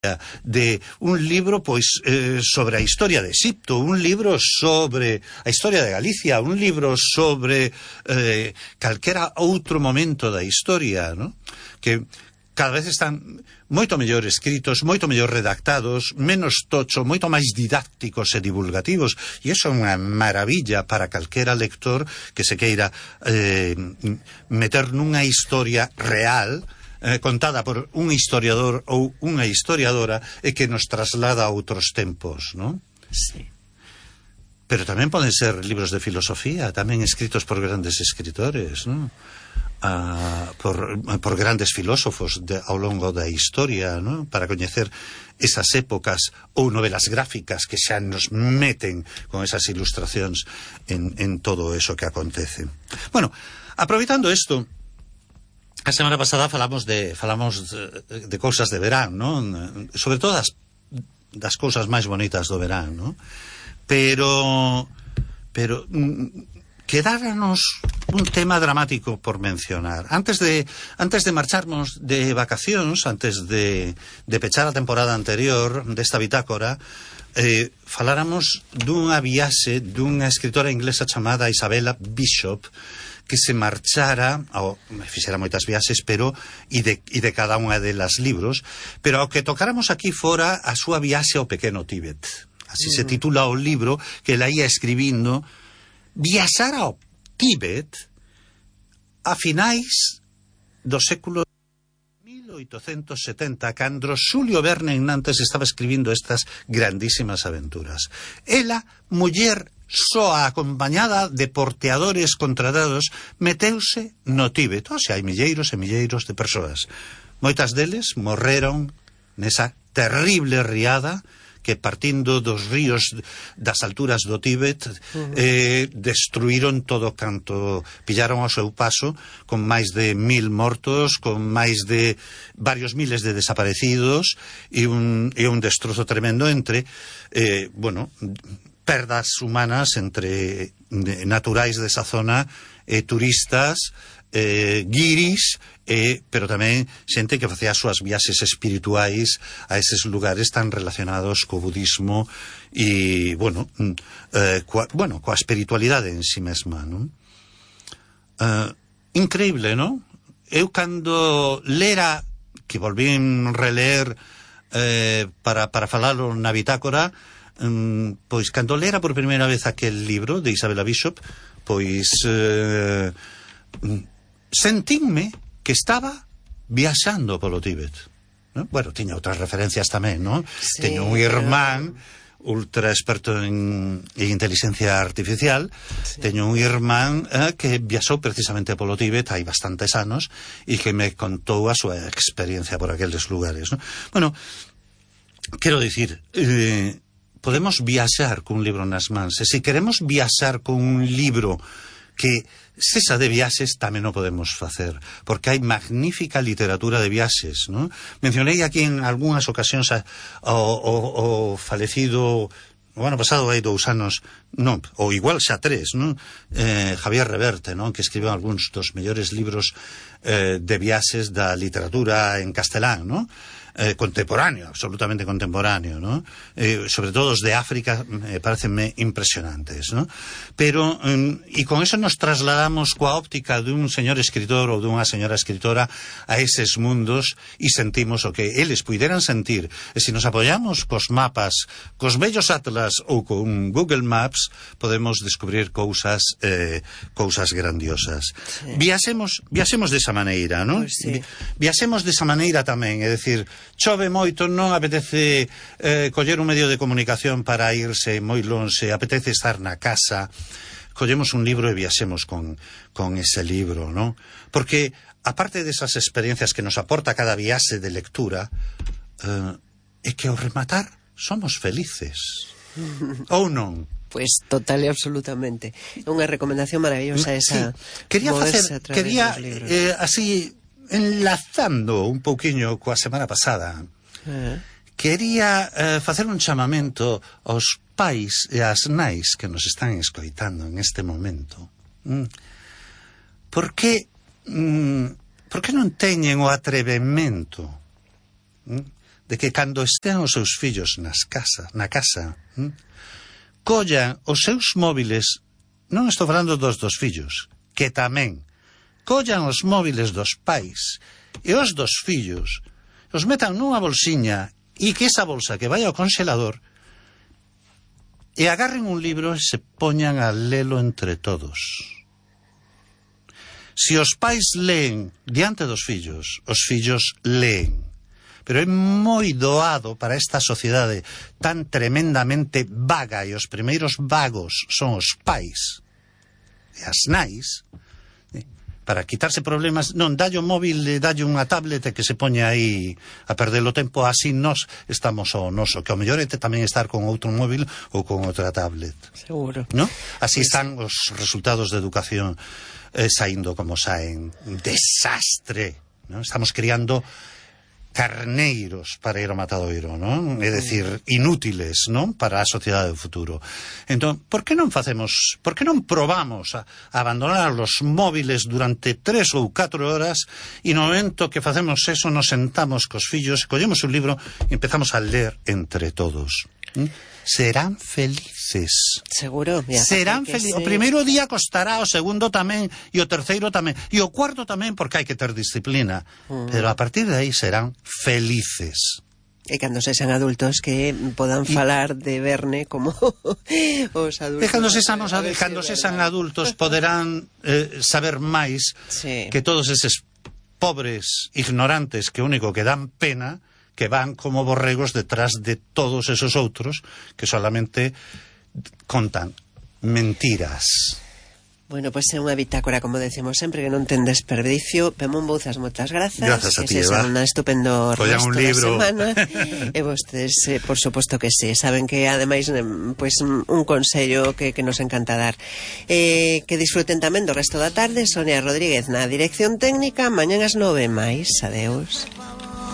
de un libro pois sobre a historia de Egipto, un libro sobre a historia de Galicia, un libro sobre calquera outro momento da historia, ¿no? Que cada vez están moito mellor escritos, moito mellor redactados, menos tocho, moito máis didácticos e divulgativos, e iso é unha maravilla para calquera lector que se queira meter nunha historia real, contada por un historiador ou unha historiadora e que nos traslada a outros tempos, ¿no? Sí. Pero tamén poden ser libros de filosofía, tamén escritos por grandes escritores, ¿no? Por grandes filósofos ao longo da historia, ¿no? Para coñecer esas épocas, ou novelas gráficas que xa nos meten con esas ilustracións en todo eso que acontece. Bueno, aproveitando isto, a semana pasada falamos de cousas de verán, ¿no? Sobre todo das cousas máis bonitas do verán, ¿no? Pero quedáranos un tema dramático por mencionar. Antes de marcharnos de vacacións, antes de pechar a temporada anterior desta bitácora, faláramos dunha viaxe dunha escritora inglesa chamada Isabella Bishop, que se marchara, fixera moitas viaxes, pero e de cada unha delas libros, pero ao que tocáramos aquí fora a súa viaxe ao pequeno Tíbet. Así se titula o libro que ela ia escribindo. Viaxar ao Tíbet a finais do século 1870, cando Xulio Verne en Nantes estaba escribindo estas grandísimas aventuras. Ela, muller soa acompañada de porteadores contratados, meteuse no Tíbet. O sea, hai milleiros e milleiros de persoas. Moitas deles morreron nesa terrible riada que, partindo dos ríos das alturas do Tíbet, destruíron todo canto pillaron ao seu paso, con máis de 1000 mortos, con máis de varios miles de desaparecidos e un destrozo tremendo entre perdas humanas entre naturais desa zona, turistas, guiris, pero tamén xente que facía as súas viaxes espirituais a eses lugares tan relacionados co budismo e, coa espiritualidade en si mesma, non? Increíble, non? Eu cando lera, que volvín releer para falalo na bitácora, pois cando lera por primeira vez aquel libro de Isabella Bishop, pois sentínme que estaba viaxando polo Tíbet, ¿no? Bueno, tiña outras referencias tamén, ¿no? Sí, teño un irmán ultra experto en inteligencia artificial, sí. Teño un irmán que viaxou precisamente polo Tíbet hai bastantes anos e que me contou a súa experiencia por aqueles lugares, ¿no? Bueno, quero dicir, podemos viaxar cun libro nas mans, e se queremos viaxar con un libro que cesa de viaxes, tamén o podemos facer, porque hai magnífica literatura de viaxes, ¿no? Mencionei aquí en algunhas ocasións o falecido o ano pasado, hai 2 anos, non, ou igual xa 3, non? Javier Reverte, non? Que escribiu algúns dos mellores libros de viaxes da literatura en castelán, non? Contemporáneo, absolutamente contemporáneo, ¿no? Sobre todo os de África parecenme impresionantes, ¿no? Pero, e con eso nos trasladamos coa óptica dun señor escritor ou dunha señora escritora a eses mundos e sentimos o que eles puideran sentir. E se nos apoiamos cos mapas, cos bellos atlas ou con Google Maps, podemos descubrir cousas grandiosas. Sí. Viaxemos desa maneira, ¿no? Pues sí. Viaxemos desa maneira tamén, é dicir, chove moito, non apetece coller un medio de comunicación para irse moi lonxe, apetece estar na casa, collemos un libro e viaxemos con ese libro, ¿no? Porque, aparte desas experiencias que nos aporta cada viaxe de lectura, é que ao rematar somos felices. Ou non? Pues total e absolutamente. É unha recomendación maravillosa esa. Sí. Quería así, enlazando un pouquiño coa semana pasada, quería facer un chamamento aos pais e ás nais que nos están escoitando en este momento. Por que non teñen o atrevemento de que cando estean os seus fillos na casa, collan os seus móviles, non estou falando dos fillos, que tamén, collan os móviles dos pais e os dos fillos, os metan nunha bolsiña e que esa bolsa que vai ao congelador e agarren un libro e se poñan a lelo entre todos. Se os pais leen diante dos fillos, os fillos leen. Pero é moi doado para esta sociedade tan tremendamente vaga, e os primeiros vagos son os pais e as nais, para quitarse problemas, non, dalle o móvil, dalle unha tablet que se poña aí a perder o tempo, así nós estamos ao noso, que ao mellor é tamén estar con outro móvil ou con outra tablet. Seguro. ¿No? Así están os resultados de educación saindo como saen. Desastre. ¿No? Estamos criando carneiros para ir ao matadoiro, non? É dicir, inútiles, non? Para a sociedade do futuro. Entón, por que non probamos a abandonar os móviles durante 3 ou 4 horas e no momento que facemos eso nos sentamos cos fillos, collemos un libro e empezamos a ler entre todos. Serán felices. Seguro. Serán felices. O primeiro día costará, o segundo tamén, e o terceiro tamén, e o cuarto tamén, porque hai que ter disciplina. Pero a partir de aí serán felices. E cando sexan adultos que podan falar de Verne como os adultos. E cando sexan adultos poderán saber máis que todos eses pobres ignorantes que único que dan pena, que van como borregos detrás de todos esos outros que solamente contan mentiras. Bueno, pois é unha bitácora, como decimos sempre, que non ten desperdicio. Pemón Bouzas, moitas grazas. Grazas a ti, Eva. Un estupendo resto un libro da semana. E vostedes, por suposto que sí. Saben que, ademais, pois un consello que nos encanta dar. Que disfruten tamén do resto da tarde. Sonia Rodríguez na dirección técnica. Mañán ás 9 máis. Adeus.